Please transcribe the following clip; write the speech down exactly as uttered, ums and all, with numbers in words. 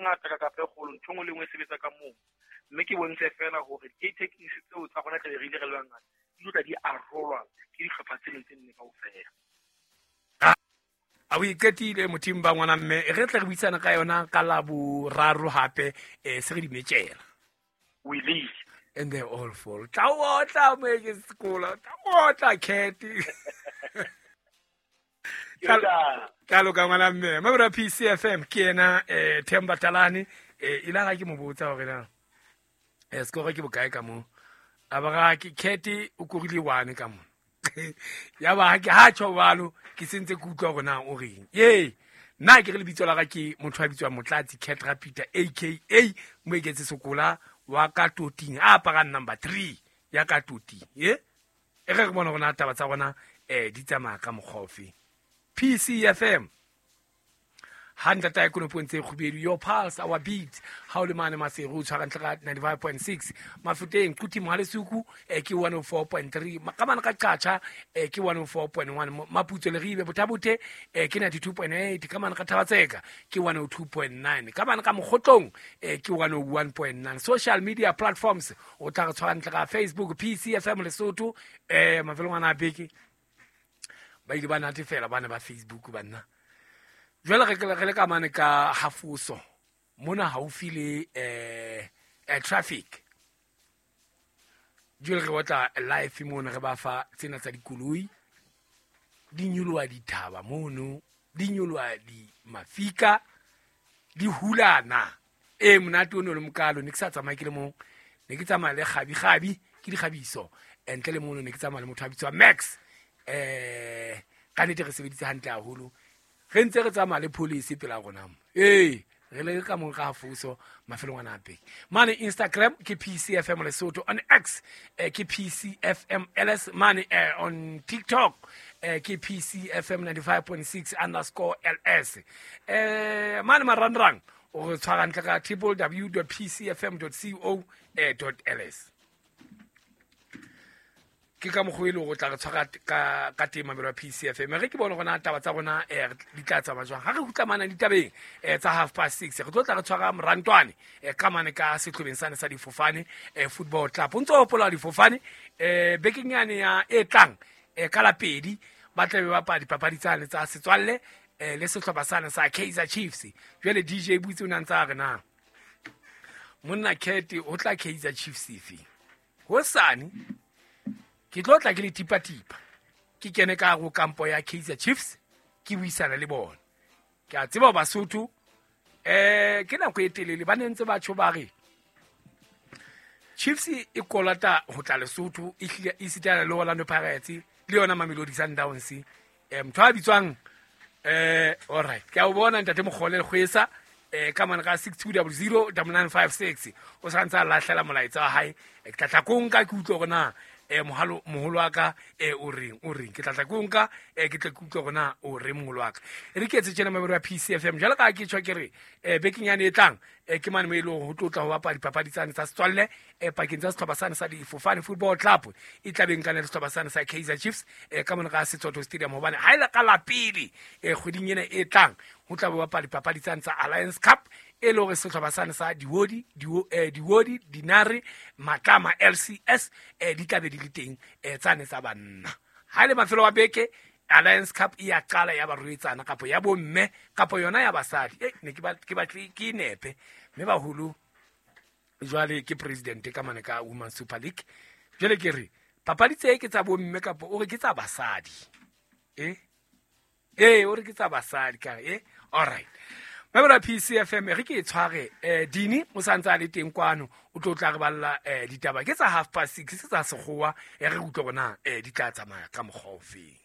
ngata ka kapa e kgolo, ntho e nngwe le nngwe e sebetsa ka moo. Mme ke bontshe fela hore di-techniques tseo tsa rona tlabe re ile re le bangata di tlo tla di arolwa ke dihlopha tse ding tse nne kaofela. A o iqetile mothing ba ngwana mme re tle re buisana ka yona ka la boraro hape eh se re di metjela. We leave. And they all fall. Tla o tla mo ke sekolo. Tla o tla cat. Ka loka ngwana mme. Mabura P C F M ke yena eh Themba Talane eh ila ga ke mo botsa hore na eh score ke bokae ka mo. A ba ga ke cat o korile one ka mo. Ya ba ke ha tjho jwalo ke sentse ke utlwa hore na o reng. Ye nna ke re lebitso la ka ke motho a bitswang Motlatsi Cat Rapita A K A Moeketse Sokola wa ka toting a aparang number three ya ka toting. Ye e re re bona hore na taba tsa rona eh di tsamaya ka mokgwa ofe. P C F M Hundred ta kono point tse kgubedu, your pulse our beat. Ha o le mane Maseru o tshwara ntle ka ninety-five point six, Mafuteng Quti Mohalesuku eh ke one oh four point three, Makamane ka Qacha eh ke one oh four point one, Maputso Leribe Bothabothe eh ke ninety-two point eight, Kamane ka Thabatseka ke one oh two point nine, Kamane ka Mokgotlong eh ke one oh one point nine. Social media platforms o tla re tshwara ntle ka Facebook P C F M Lesotho eh mafelong ana a beke ba ile ba natefela bana ba Facebook banna. Jwale re re le ka mane ka hafuso mona haufi le eh eh traffic. Jwale re batla live mona re ba fa tsena tsa dikoloi di nyoloha dithaba mono, di nyoloha di mafika di hulana. E monate o no le mokalo ne ke sa tsamaye ke le mong, ne ke tsamaya le kgabi kgabi ke dikgabiso ntle le mono ne ke tsamaya le motho a bitswa Max. Eh ka nnete re sebeditse hantle haholo. Re ntse re tsamaya le police pela rona mo. Ee, re le ka mong ka hafuso mafelong ana a beke. Mane Instagram ke P C F M Lesotho, on X eh, ke P C F M L S, mane eh, on TikTok eh, ke P C F M ninety-five point six underscore L S. Eh, mane marangrang o re tshwara ntle ka w w w dot p c f m dot co dot l s. Ke ka mokgwa e leng hore o tla re tshwara ka ka teng mamelo ya P C F M. Re ke bone hore na taba tsa rona eh di tla tsamaya jwang. Ha re kgutla mane ditabeng eh tsa half past six re tlo tla re tshwara Morantwane eh ka mane ka sehlobeng sane sa difofane eh football club. O ntso hopola difofane eh bekeng yane ya e tlang eh ka la pedi ba tla be ba bapala dipapadi tsane tsa setswalle eh le sehlopha sane sa Kaizer Chiefs. Jwale D J Butse o ne a ntsa re na monna Cat o tla Kaizer Chiefs efe hosane ke tlo tla ke le tipa-tipa ke kene ka hare ho kampo ya Kaizer Chiefs ke buisana le bona. Ke a tseba Basotho eh ke nako e telele ba ne ntse ba tjho ba re Chiefs e kolota ho tla Lesotho e hlile e sitana le Orlando Pirates le yona Mamelodi Sundowns. Eh motho a bitswang eh all right ke a o bona ntate Mokgole Kgwesa eh ka mane ka six two zero zero nine nine five six o sa ntse a lahlela molaetsa wa hae. Ke tla tla ko nka ke utlwe hore na eh mohalo moholo wa ka eh o reng o reng ke tla tla ko nka eh ke tle ke utlwe hore na o reng moholo wa ka. E re ke etse tjena mabero ya P C F M jwalo ka ke tjho ke re eh bekeng yane e tlang eh ke mane mo e leng hore ho tlo tla ho bapala dipapadi tsane tsa setswalle eh pakeng tsa sehlopha sane sa Difofane Football Club e tla beng kana le sehlopha sane sa Kaizer Chiefs eh ka mona ka Setsotho Stadium hobane ha ile ka la pele eh kgweding ena e tlang ho tla bo bapala dipapadi tsane tsa Alliance Cup e le hore sehlopha sane sa Diwodi eh Diwodi Dinare Matlama L C S eh di tla be di le teng eh tsane tsa banna. Ha ile mafelo a beke Alliance Cup e ya qala ya barwetsana kapa ya bomme kapa yona ya basadi. Eh ne ke ba ke batle ke nepe mme baholo jwale ke president ka mane ka Women Super League. Jwale ke re papadi tse ke tsa bomme kapa o re ke tsa basadi. Eh eh o re ke tsa basadi ka eh all right. Mabela P C F M re ke e tshware eh Dini o santse a le teng kwano o tlo tla re balla eh ditaba ke tsa half past six tsa sekgowa e re utlwe bona eh di tla tsamaya ka mokgwa ofeng.